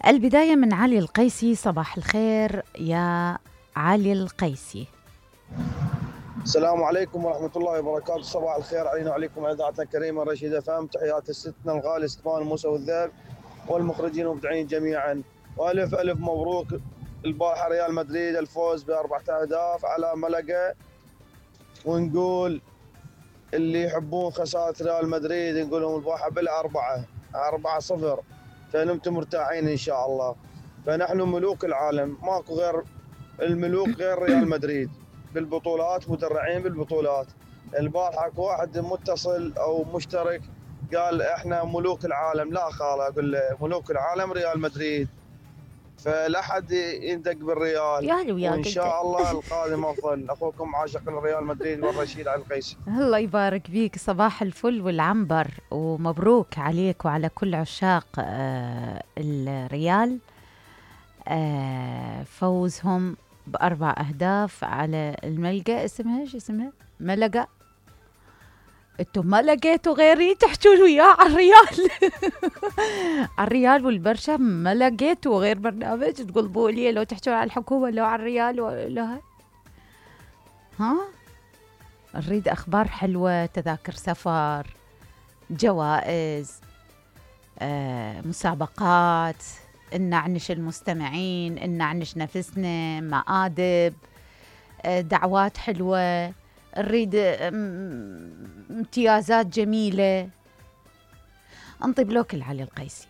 البداية من علي القيسي. صباح الخير يا علي القيسي. السلام عليكم ورحمة الله وبركاته. صباح الخير علينا وعليكم إذاعتنا الكريمة رشيد FM. تحياتي لستنا الغالي اسطوان موسى والذئب والمخرجين والمبدعين جميعا، والف الف مبروك. البارحة ريال مدريد الفوز ب4 أهداف على ملقا، ونقول اللي يحبون خسارة ريال مدريد نقول لهم البارحة ب4-0، فنمتم مرتاحين إن شاء الله. فنحن ملوك العالم، ماكو غير الملوك غير ريال مدريد بالبطولات، مدرعين بالبطولات. البارحة واحد متصل او مشترك قال احنا ملوك العالم، لا خاله، اقول له ملوك العالم ريال مدريد، فلا حد يندق بالريال، وان شاء الله القادم افضل. اخوكم عاشق الريال مدريد والرشيد علي القيسي. الله يبارك بيك، صباح الفل والعنبر، ومبروك عليك وعلى كل عشاق الريال. فوزهم ب4 أهداف على الملقا. اسمها ايش اسمها؟ ملقا. انتم ما لقيتوا غيري تحجون وياه على الريال. على الريال والبرشا ما لقيتوا غير برنامج تقلبوا لي، لو تحجون على الحكومة لو على الريال ولا ها. نريد أخبار حلوة، تذاكر سفر، جوائز، مسابقات، نعنش المستمعين، نعنش نفسنا، مآدب، دعوات حلوة، نريد امتيازات جميلة. انطي بلوك علي القيسي.